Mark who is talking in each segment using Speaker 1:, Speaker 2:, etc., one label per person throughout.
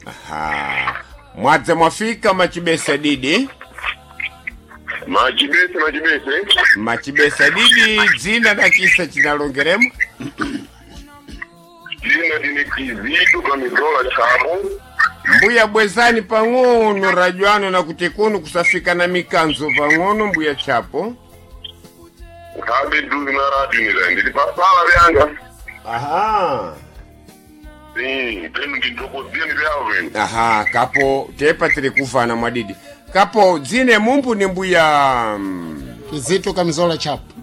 Speaker 1: Aha. Mwadza mwafika machibesa didi.
Speaker 2: Machibese machibese.
Speaker 1: Machibesa didi dzina na chisa chinalongeremo.
Speaker 2: Dzina ndine Kizito kamizola Chapo.
Speaker 1: Mbuya bwezani pang'ono rajwano na kuti kuno kusafika na mikanzo pang'ono mbuya Chapo.
Speaker 2: Nkhabe duzi na radio nila ndili pasala vyanga.
Speaker 1: Aha.
Speaker 2: Penu ndindokozieni vyavo venu.
Speaker 1: Aha, kapo tepa tiri kufana mwadidi. Kapo dzine mumbu ni mbuya
Speaker 3: Kizito kamizola Chapo.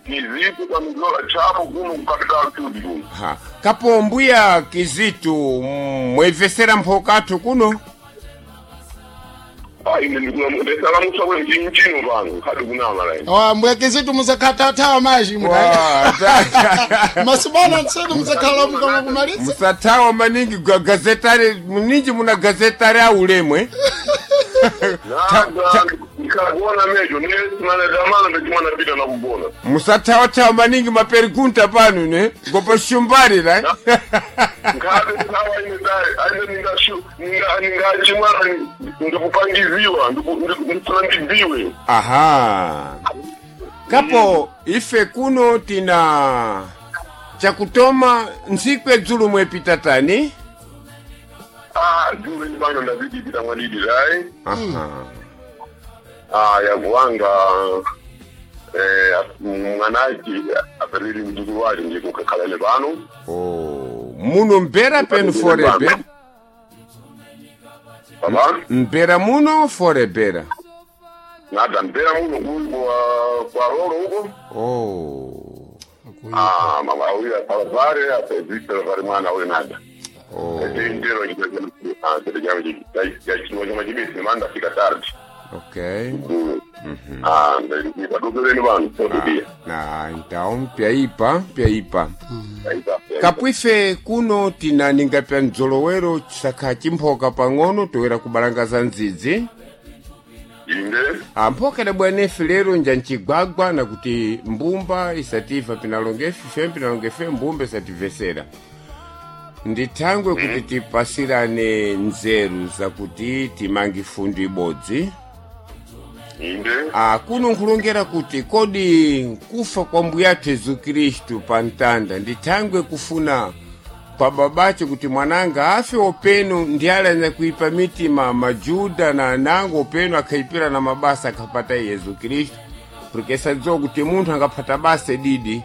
Speaker 2: Kizito kamizola Chapo kuno kukapital studio kuno.
Speaker 1: Ha. Kapo mbuya Kizitu mwevesera mphokathu kuno.
Speaker 2: Ah, ine ndikulamusa kwe mchino pano khadi kunama lai.
Speaker 3: Oh, mbuya Kizito musakhathathawa maji
Speaker 1: Wa,
Speaker 3: masibona ntsenu musakhala mukama kumalitsa.
Speaker 1: Musathawa maningi gazetari mninji muna gazetari aulemwe.
Speaker 2: Nada ndikakuona mejo nesimana damana ndachimwana pita nakugona.
Speaker 1: Musathawa-thawa maningi maperigunta pano ne ngopa shumbari la.
Speaker 2: Nkhabe thawa ine dai aine ningashu ningachimwana ndikupangiziwa ndikufuna ndidziwe.
Speaker 1: Aha. Kapo ife kuno tina chakutoma ntsiku edzulu mwepita tani.
Speaker 2: Ah, dzulo pano ndazidipita mwadidi dai.
Speaker 1: Aha.
Speaker 2: Ah, yakuwanga mwanachi aperiri mdzukulu wake ndikukakhalane pano.
Speaker 1: Oh, muno mbera penu forebera.
Speaker 2: Baba
Speaker 1: Mbera muno forebera.
Speaker 2: nada mpera muno kuli kwa rolo huko.
Speaker 1: Oh.
Speaker 2: Ah, mama huyu asalvare asazisira vari mwana uyu nada.
Speaker 1: Oh.
Speaker 2: Ndero chino chimabisi manda fika tardi.
Speaker 1: Okay.
Speaker 2: Ah, ndikudokereni vanhu sokudia.
Speaker 1: Na então pyaipa pyaipa. Kapwife kuno tina ninga pya mdzolowero chisakha chimphoka pang'ono toera kubalangaza ndzidzi.
Speaker 2: Inde
Speaker 1: Amphoka idabwanefe lero nja ncigwagwa na kuti mbumba isativa pinalongefe ife pinalongefe mbumba isativesera. Ndithangwe kuti tipasirane nzeru zakuti timange fundu ibodzi.
Speaker 2: inde
Speaker 1: Ah, kuno nkhulongera kuti kodi kufa kwa mbuyathu Yesu Khristu pa mtanda ndithangwe kufuna kwa babache kuti mwananga afe openo ndi alanya kuipa mitima majuda na anango openo akhaipira na mabasa akhapata Yesu Khristu, porque sadziwa kuti munthu angaphata basa didi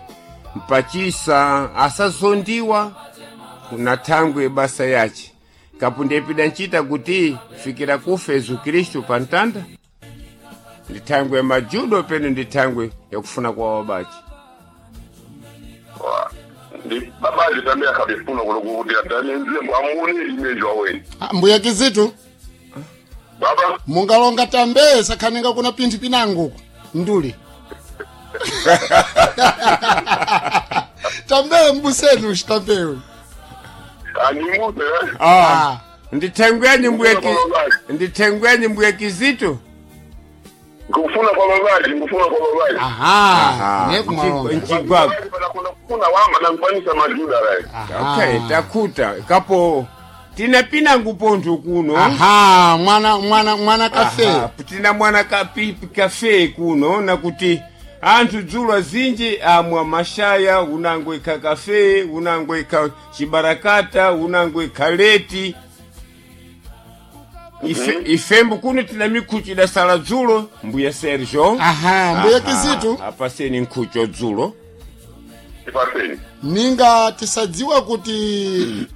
Speaker 1: mpachisa asazondiwa na thangwe basa yace kapo ndiyepida ncita kuti fikira kufa Yesu Khristu pa mtanda ndithangwe majudo peno ndithangwe yakufuna kwa wabachi.
Speaker 2: ndi babaji tambe akabifuna kuno kuti atanenze mwamuni imejwa weni.
Speaker 3: Ah, mbuya Kizito
Speaker 2: Baba
Speaker 3: mungalonga tambe sakhaninga kuna pinthu pinango nduli. Tambe mbusenu shitambewe.
Speaker 2: andimuse
Speaker 3: Ah.
Speaker 1: Ndithangwe mbuya ndithangwe mbuya Kizito.
Speaker 2: ngikufuna kwa babaji ngikufuna kwa babaji.
Speaker 3: Aha. Ne kumalonga.
Speaker 1: Nchigwagwa.
Speaker 2: Panakona kufuna wama nankwanisa majuda lai.
Speaker 1: Okay, takhuta kapo tina pinangu pontho kuno.
Speaker 3: Aha, mwana mwana mwana kafe.
Speaker 1: Aha, tina mwana kapipi kafe kuno nakuti anthu dzulo azinji amwa mashaya unango ikha kafe unango ikha chibarakata unango ikha leti. Ife, ifembo kuno tina mikhucho idasala dzulo mbuya Sergio.
Speaker 3: Aha, mbuya Kizito
Speaker 1: apaseni nkhucho dzulo.
Speaker 2: Ipaseni.
Speaker 3: ninga tisadziwa kuti